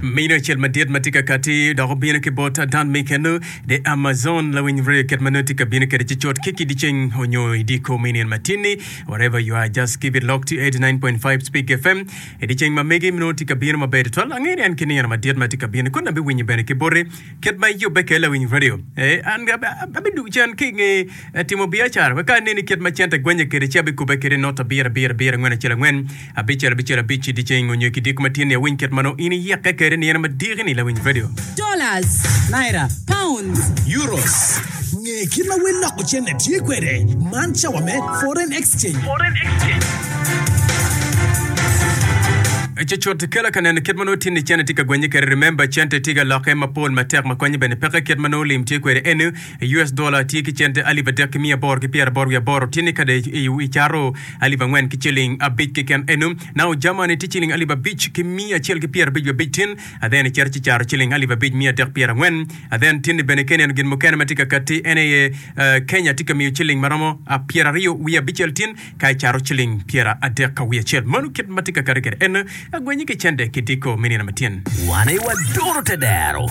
Mino acel madit ma tye ka kati dok obino ki bot Dan Miken The Amazon lawiny radio kit ma nongo tye ka bino kwede ci cut ki ki ceng onyo i diko me nino matin-ni wherever you are just keep it locked to 89.5 Speak FM i dye ceng ma megi nongo tye ka bino maber tutwal angeyo ni en ki nino madit ma tye ka bino kun abiwinyo bene ki boti kit ma iyubbe kwede lawiny radio eh, an abidwogo cen ki i nge timo biacara wek ka aneni kit ma cente gwenye kwede ci abikubbe kwede not abiro abiro abiro angwen acel angwen abicel abicel abic i dyeceng onyo i kidiko ma tye ni awiny kit ma nongo in iyikke kwede nino madiki-ni lawiny radio. Dollars. Naira. Pounds. Euros. Nge kit ma wel loko cente tye kwede. Man cawa me Foreign Exchange. Cucut kela ka neno kit ma nongo tinni cente tye ka gwenye kwede. Remember cente tye ka lokke mapol matek ma konye bene peke kit ma nongo lim tye kwede eni. US dollar tye ki cente alip adek ki miya aboro ki pyeraboro wiye aboro tye ni kade i caro alip angwen ki ciling abic keken eno. Now Germany tye ciling alip abic ki miya acel ki pyerabic wiye abic tin then icito ci caro ciling alip abic miya adek pyerangwen then tin ni bene ka ineno gin mukene ma tye ka katti en aye Kenya tye ka miyo ciling ma romo pyeraryo wiye abicel tin ka icaro ciling pyeradek wiye acel. Mano kit ma tye ka katti kwede en agwenye ki cente ki diko me nino matyen. Wan aye waduro tedero.